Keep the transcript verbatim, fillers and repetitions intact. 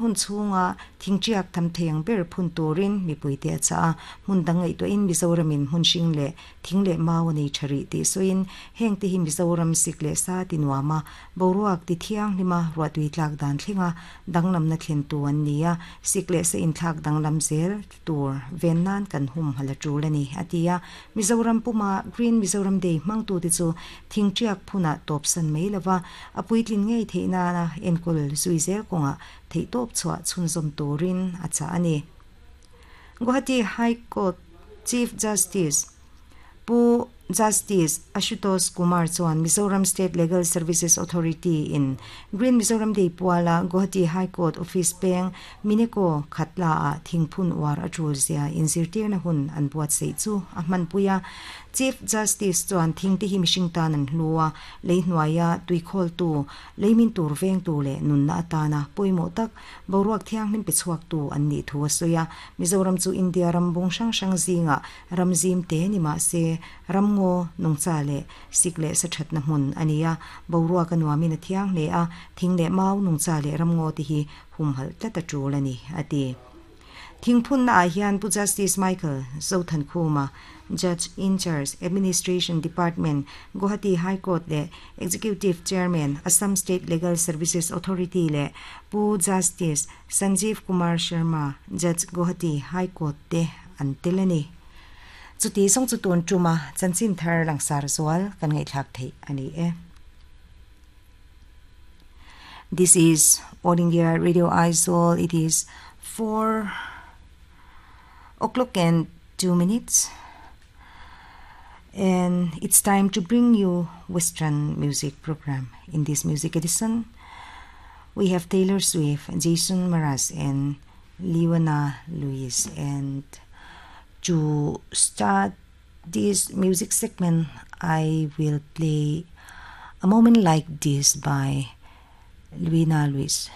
Hun chhunga thingṭiak tham thei ang ber phun turin mipuite a chah a, hmun dang ngaihtuahin Mizoramin hmun hring leh thing leh mau a nei tha rih tih sawiin heng te hi Mizoram sik leh sa ti nuam a, boruak ti thianghlima ruahtui tlak dan thlenga danglamna thlen tu an ni a, sik leh sa inthlak danglam zel tur ven nan kan hum hal a tul a ni a ti a. Mizoram puma Green Mizoram Day hmangtu te chu thingṭiak phunah tawpsan mai lova a puitlin ngei theih nana enkawl zui zel kawngah theih tawp chhuah chhunzawm turin a chah a ni. Guwahati High Court Chief Justice Pu Justice Ashutosh Kumar chuan Mizoram State Legal Services Authority in Green Mizoram Day puala Guwahati High Court Office peng Mineko Khatla a thingphun uar a tul zia inzirtirna hun an buatsaih chu a hmanpui a. Chief Justice chuan thing te hi mihring tan an hlu a, lei hnuaia tuikhawl tu, leimin tur veng tu leh nunna atana pawimawh tak boruak thianghlim pe chhuak tu an nih thu a sawi a. Mizoram chu India ram bung hrang hrang zinga ram zim te ni mah se ramngaw nungcha leh sik leh sa thatna hmun a ni a, boruak a nuamin a thiang hle a, thing leh mau nungcha leh ramngaw te hi humhalh tlat a tul a ni a ti. Thingphun na ah hian Pu Justice Michael Zothankhuma, Judge in Charge, Administration Department, Guwahati High Court leh Executive Chairman, Assam State Legal Services Authority leh Pu Justice Sanjeev Kumar Sharma, Judge, Guwahati High Court te an tel a ni. Chuti sawng chu tun tuma chanchin thar langsar zual kan ngaihthlak theih a ni e. This is All India Radio Aizawl. It is four o'clock and two minutes. And it's time to bring you Western music program. In this music edition, we have Taylor Swift, Jason Mraz, and Leona Lewis. And to start this music segment, I will play A Moment Like This by Leona Lewis.